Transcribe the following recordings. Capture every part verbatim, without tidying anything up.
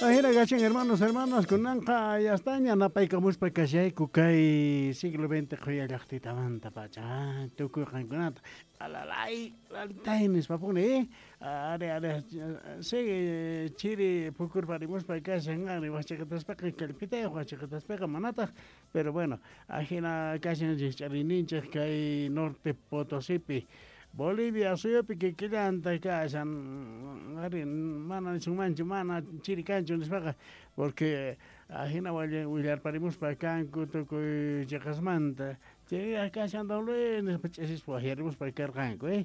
Ajina kachin hermanos, hermanas, kunanqa yastaña napaykamuspa kashayku kay siglo veinte qhuya llaqtitamanta pacha tukuy qankunata alalay lalitay nispapuni eh ari ari sigue chiri pukurparimuspa kashan ari wachaqataspaqa kallpitayuq wachaqataspaqa manataq, pero bueno, ajina kashan rikch'ariyninchik kay Norte Potosipi Bolivia suyupi kikillanta kashan ari mana nisunmanchu mana chiri kanchu nispaqa porque ajina willarparimuspa kanku tukuy chiqasmanta chiri kashan don Luis nispa ch'isispa waqyarimuspa karqanku eh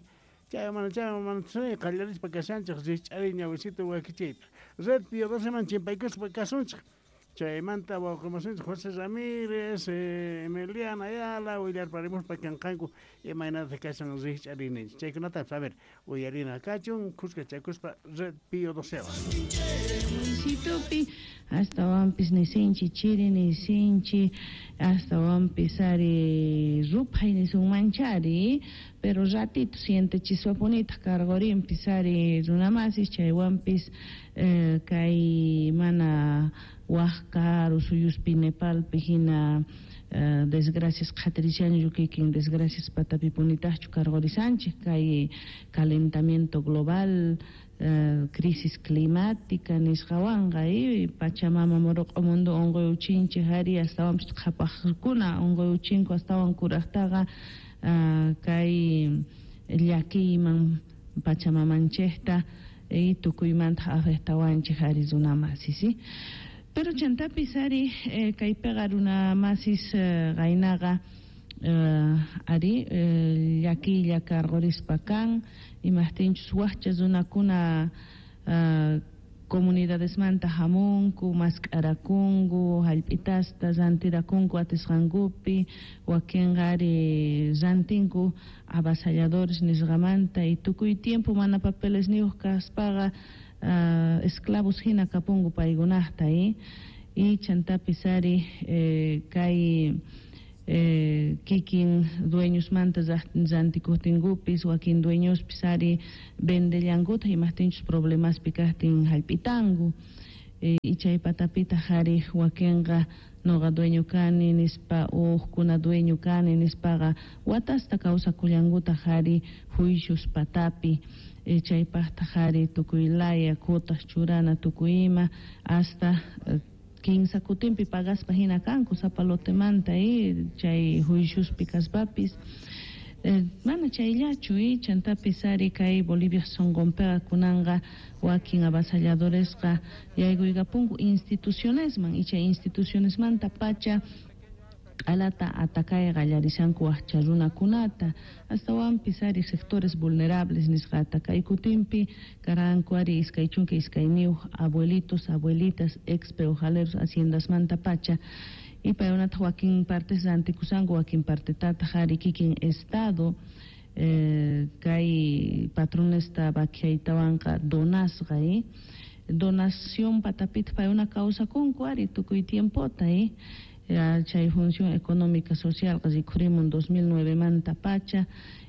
chay mana chay mana qallarispa kashanchik rikch'ariy ñawisita wakichiyta Red Pío doceman chimpaykuspa kasunchik chaymanta wawqimasinchik José Ramírez, eh, Emiliana Ayala willarparimuspa kanqanku imaynata kashan rikch'ariyninchik chaykunatapas a ver uyarina kachun kuskachakuspa Red Pío docewan. Luisitopi astawanpis nisinchi chiri nisinchi astawanpis ari ruphay nisunmanchari pero ratito sientechiswapunitaq karqurinpis ari runamasis chaywanpis eh, kay mana waq karu suyuspi Nepalpi hina eh, desgracias qhatirishanchu kikin desgracias patapipunitaqchu karqurisanchik kay calentamiento global eh, crisis climática nisqawanqa eh, Pachamama muruq'u mundo unquyuchinchik ari astawanpis qhapaqkuna unquyuchinku astawan kuraqtaqa uh, kay llakiyman Pachamamanchikta y tukuymanta afectawanchik ari runamasis ¿sí? Pero chantapis ari eh, kaypiqa runamasis eh, qaynaqa eh, ari eh, llakiylla karqurispa kan imaqtinchus waqcha runakuna eh, comunidadesmanta hamunku mask'arakunku hallp'itasta rantirakunku atisqankupi wakinqa ari rantinku avasalladores nisqamanta y tukuy tiempo mana papeles niyuq kaspaqa uh, esclavos hina kapunku paykunaqta y y chantapis ari eh, kay eh, kikin dueñosmanta rantikuqtinkupis wakin dueñospis ari vendellankutaq imaqtinchus problemaspi kaqtin hallp'itanku eh, y chay patapitaq ari wakinqa noqa dueño kani nispa uqkuna dueño kani nispaqa watasta kawsakullankutaq ari juicios patapi eh, chaypaqtaq ari tukuy laya kutaq churana tukuy ima hasta eh, kinsa kutinpi pagaspa hina kanku sapa lotemanta y chay juiciospi kaspapis eh, mana chayllachu y chantapis ari kay Bolivia sunqunpiqa kunanqa wakin avasalladoresqa yaykuykapunku institucionesman y chay institucionesmanta pacha q'alata atakay qallarishanku waqcha runakunata astawanpis ari sectores vulnerables nisqata kay kutinpi karanku ari iskay chunka iskayniyuq abuelitos abuelitas ex peojaleros haciendasmanta pacha y paykunataq wakin partes rantikusanku wakin partetataq ari kikin estado eh, kay patronesta vaquiaytawanqa donasqa eh? Donación patapita paykuna kawsakunku ari tukuy tiempota eh? Chay función económica social rikhurimun dos mil nueve manta pacha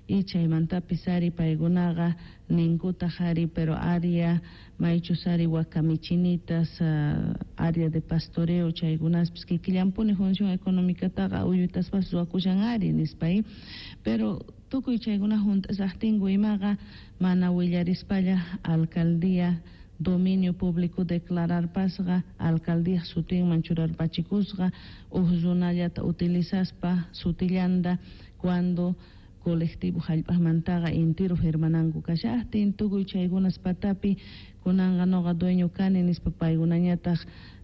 y chaymantapis ari paykunaqa ninkutaq ari pero área maychus ari wakamichinitas uh, área de pastoreo chaykunaspis kikillampuni función económicataqa uyutaspas ruwakushan ari nispa y pero tukuy chaykuna hunt'asaqtinku imaqa mana willarispalla alcaldía dominio público declararpasqa alcaldía sutinman churarpachikusqa uj runallata utilizaspa sutillanta cuando colectivo hallp'aqmantaqa intiro firmananku kashaqtin tukuy chaykunas patapi kunanqa noqa dueño kani nispa paykunañataq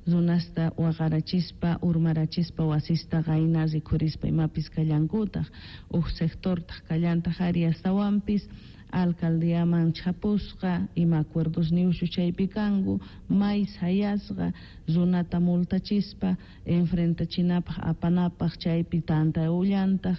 runasta waqarachispa urmarachispa wasista qayna rikhurispa imapis kallankutaq uj sectortaq kallantaq ari astawanpis alcaldiaman chapusqa ima acuerdos niushu chaypi kanku may sayasqa runata multachispa enfrentachinapaq apanapaq chaypi tanta ullantaq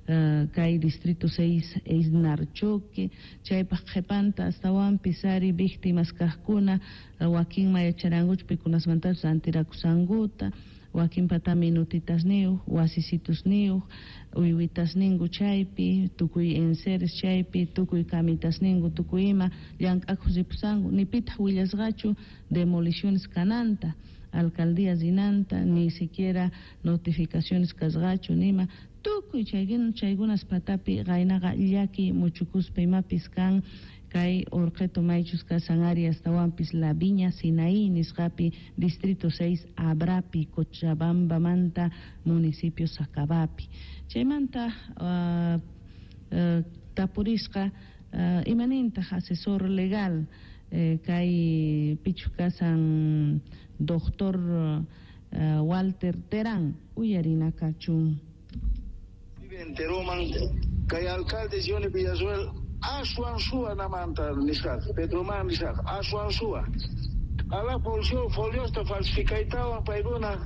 uh, kay distrito seis Narchoque chaypaq qhipanta astawanpis ari víctimas kaqkuna wakinma yacharankuchu pikunasmantachus rantirakusankuta Wakinpata minutitasniyuq, wasisitusniyuq, uywitasninku chaypi, tukuy enseres chaypi, tukuy kamitasninku, tukuy ima llank'akuq ripusanku, ni pitaq willasqachu demoliciones kananta, alcaldía rinanta, ni siquiera notificaciones kasqachu nima, tukuy chaykuna chaykunas patapi qaynaqa llaki muchukuspa imapis kan kay Orqeto maychus kasan ari astawanpis La Viña Sinaí nisqapi distrito seis Abrapi Cochabambamanta municipio Sacabapi. Chaymanta uh, uh, tapurisqa uh, imanintaq asesor legal eh, kay pichu kasan doctor uh, Walter Terán uyarina kachun. Enteroman kay alcalde Johnny Villarruel aswan suwa namanta nisqaqa Pedroman nisqaqa aswan suwa ala folio foliosta falsificaytawan paykuna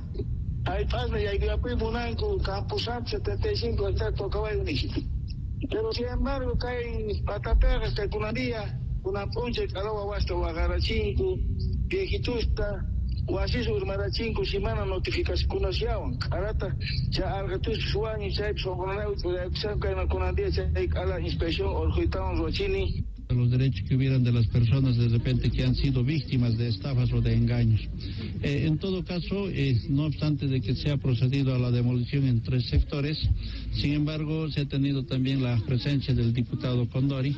aypasna yaykuyapuy munanku Camposanto setenta y cinco hectáreas tocaway nispa. Pero sin embargo kay patapeqa kay kunan día kunan p'unchay q'ala wawasta waqarachinku viejitusta wasis urmarachinku si mana notificacionkunasllawan q'alata chay arqatuspas wañun chaypis sunqunanayku ch'uraykushanku kayna kunan día chay q'ala inspección urquytawan ruwachini. Los derechos que hubieran de las personas de repente que han sido víctimas de estafas o de engaños. Eh, en todo caso, eh, no obstante de que se ha procedido a la demolición en tres sectores, sin embargo, se ha tenido también la presencia del diputado Condori,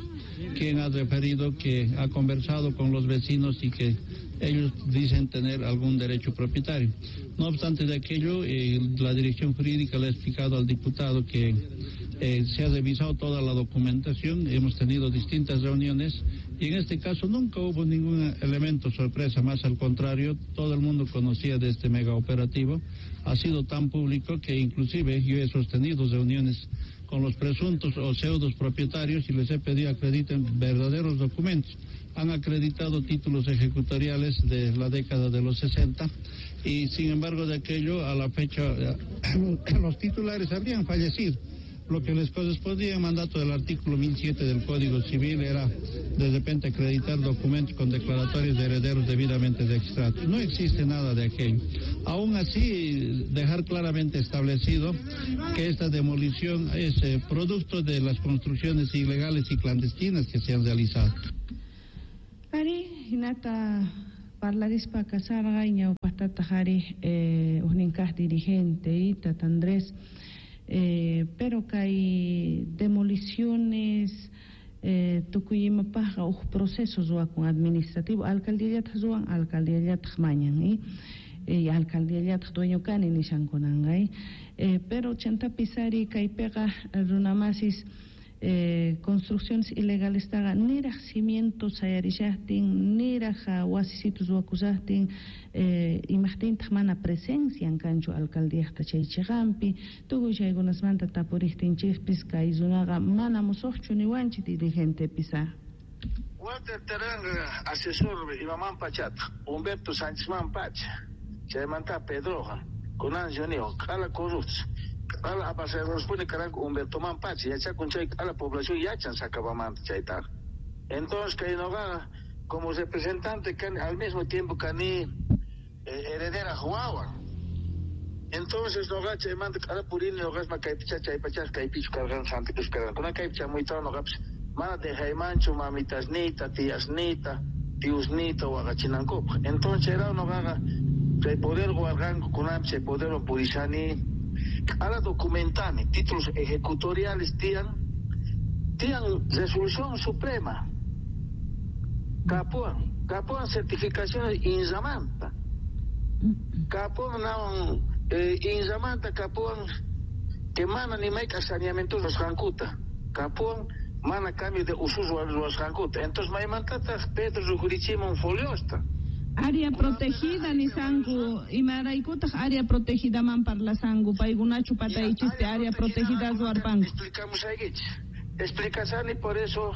quien ha referido que ha conversado con los vecinos y que ellos dicen tener algún derecho propietario. No obstante de aquello, eh, la dirección jurídica le ha explicado al diputado que eh, se ha revisado toda la documentación, hemos tenido distintas reuniones y en este caso nunca hubo ningún elemento sorpresa, más al contrario, todo el mundo conocía de este mega operativo, ha sido tan público que inclusive yo he sostenido reuniones con los presuntos o pseudos propietarios y les he pedido acrediten verdaderos documentos. Han acreditado títulos ejecutoriales de la década de los sesenta y sin embargo de aquello a la fecha los titulares habrían fallecido. Lo que les correspondía en mandato del artículo mil siete del Código Civil era de repente acreditar documentos con declaratorias de herederos debidamente registrados. No existe nada de aquello. Aún así, dejar claramente establecido que esta demolición es eh, producto de las construcciones ilegales y clandestinas que se han realizado. Ari, hinata parlarispa kasarqa ñawpaqtataq ari eh, ujninkaq dirigente Tata Andrés. Eh, pero kay demoliciones eh, tukuy imapaqqa uj proceso ruwakun administrativo alcaldíallataq ruwan alcaldíallataq mañan eh? Eh, alcaldíallataq dueño kani nishankunanqa eh? Eh, pero chantapis ari kaypiqa runamasis eh, construcciones ilegales taqa niraq cimientos sayarishaqtin niraq wasisitus ruwakushaqtin eh, imaqtintaq mana presencian kanchu alcaldíaqta chay chiqanpi tukuy chaykunasmanta tapuriqtinchikpis kay runaqa mana musuqchu niwanchik dirigentepis. Walter Terán asesor imaman pachata Humberto Sánchez man pacha chaymanta Pedroqa kunan yuniwan q'ala corruptos q'ala apasaruspuni karanku Humberto man pacha yachakun chay q'ala población yachan Sacabamanta chaytaqa. Entonces kay noqaqa como representante kani al mismo tiempo kani eh, heredera wawan. Entonces noqa chaymanta q'ala purini noqasma kaypicha chaypachas kaypichu karqan Santa Cruz karqan kunan kaypi chamuytawan noqapis mana dejaymanchu mamitasniyta tiyasniyta tiusniyta waqachinankupaq. Entonces chayraw noqaqa chay poder warqanku kunanpi chay poderwan purishani q'ala documentani títulos ejecutoriales tiyan tiyan resolución suprema kapuwan kapuwan certificaciones inzamanta kapuwan nawan eh, inzamanta kapuwan que mana ni mayk'aq saneamiento ruwasqankuta kapuwan mana cambio de usos ruwasqankuta. Entonces maymantataq Pedro rukurichimun foliosta Área protegida nisanku imaraykutaq área protegidaman parlasanku paykunachu pataychispi área protegida ruwarpanku. Explicamos aykichik explicasani por eso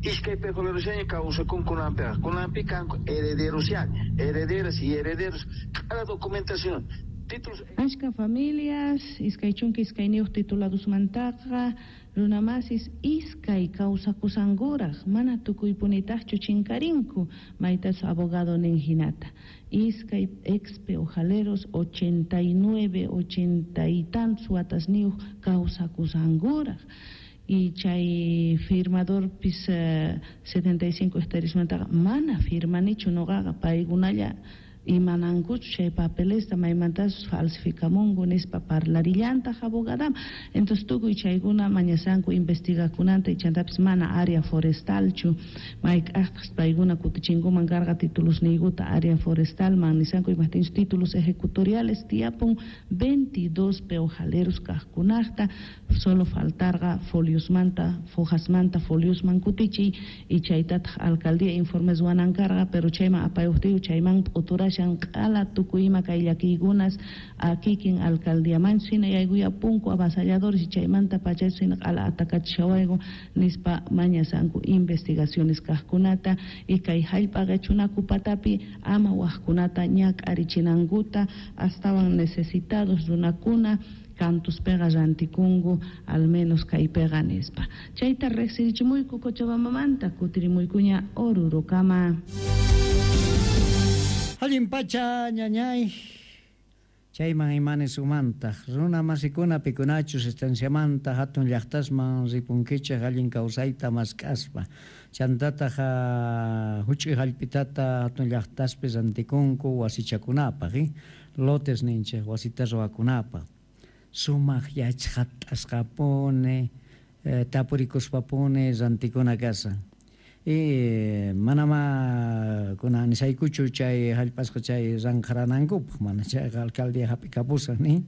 iskay pejolerushaña kawsakun kunanpiqa kunanpi kanku herederosyaña herederas y herederos cada documentación títulos. Ashka familias iskay chunka iskayniyuq tituladusmantaqa Runamasis iskay kawsakusankuraq, mana tukuypunitaqchu chinkarinku, maytachu abogado nin hinata. Iskay ex peojaleros ochenta y nueve, ochenta y tantos watasniyuq kawsakusankuraq. Y chay firmadorpis eh, setenta y cinco hectáreasmantaqa mana firmanichu nuqaqa, paykunalla imanankuchu chay papelesta maymantasus falsificamunku nispa parlarillantaq abogadama. Entonces tukuy chaykuna mañasanku investigakunanta, chantapis mana área forestalchu, mayk'aqtaq paykuna kutichinkuman karqa titulusniykuta área forestalman nisanku, imajtinchus títulos ejecutoriales tiyapun veintidós peojaleros kaqkunaqta, solo faltarqa foliosmanta, fojasmanta foliosman kutichiy, y chaytataq alcaldía informes wanan karqa, pero chayman apayuqtiyu chayman p'uturashan q'ala tukuy ima kay llakiykunas kikin alcaldíamanchu hina yaykuyapunku avasalladores, y chaymanta pachachu hina q'ala atakachishawayku nispa mañasanku investigaciones kaqkunata, y kay hallp'a qichunaku patapi ama waqkunata ñak'arichinankuta, astawan necesitados runakuna kantuspiqa rantikunku al menos kaypiqa nispa. Chayta riqsirichimuyku Cochabambamanta, kutirimuykuña Orurokama. Allin pacha ñañay, chayman imanes umantaq runa masikuna pikunachus estanciamanta hatun llaqtasman ripunkichaq allin kawsayta mask'aspa, chantataq huch'uy hallp'itata hatun llaqtaspi rantikunku wasichakunapaq, eh? Lotes ninchik wasita ruwakunapaq, sumaq yachqatasqapuni eh, tapurikuspapuni rantikuna kasan. Y manama kunan nisaykuchu chay hallp'asqa chay ranqaranankupaq, mana chayqa alcaldía hap'ikapusan ni,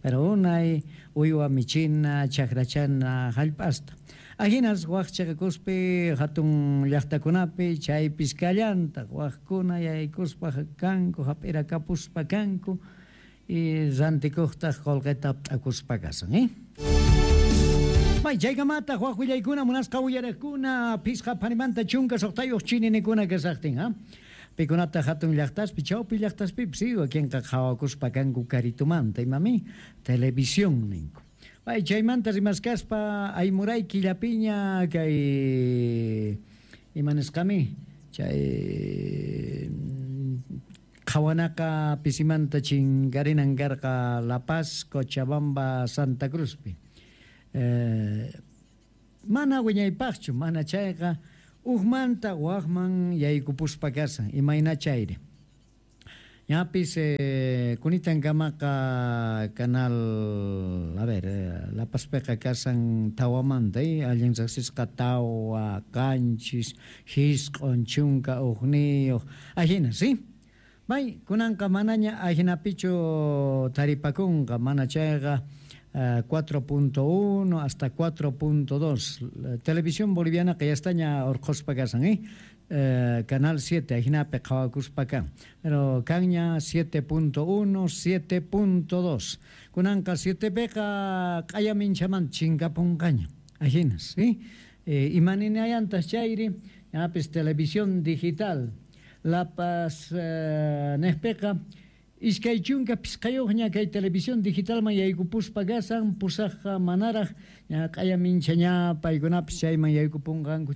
pero unay uywa michina chakrachana hallp'asta. Ahinas waq chiqakuspi hatun llaqtakunapi chaypis kallantaq waqkuna yaykuspa kanku hap'irakapuspa kanku y rantikuqtaq qullqita p'akuspa kasan, eh? May chaykamata waq willaykuna munasqa uyariqkuna phisqa phanimanta chunka suqtayuq chininikuna kasaqtin, ha? Pikunata hatun llaqtaspi chawpi llaqtaspipis wakinqa qhawakuspa kanku karitumanta imami televisión ninku. May chaymanta rimaskaspa aymuray killapiña kay imanisqami chay qhawanaqa pisimanta chinkarinan karqa La Paz, Cochabamba, Santa Cruzpi. Eh, mana wiñaypaqchu, mana chayqa uqmanta waqman yaykupuspa kasan, imayna chayri. Ñapis eh, kunitankamaqa canal, a ver, eh, La Pazpiqa kasan tawamanta, eh, allin riqsisqa tawa, qanchis, hisq'un, chunka, uqniyuq, ahina, ¿sí? May, kunanqa manaña ahinapichu taripakunqa, mana chayqa Uh, cuatro punto uno hasta cuatro punto dos. Televisión boliviana que ya está ña orqospa kasan, eh? Eh, Canal siete, ahinapi qhawakuspa kan. Pero kanña siete punto uno, siete punto dos. Kunanqa siete piqa q'ayaminchaman chinkapunqaña. Ahinas, ¿sí? Eh, imaninayantas chayri, ñapis televisión digital. La Paz eh, nejpiqa iskay chunka pisqayuqña kay televisión digitalman yaykupuspa kasan, pusaqqa manaraq ña q'ayaminchaña paykunapis chayman yaykupunqanku.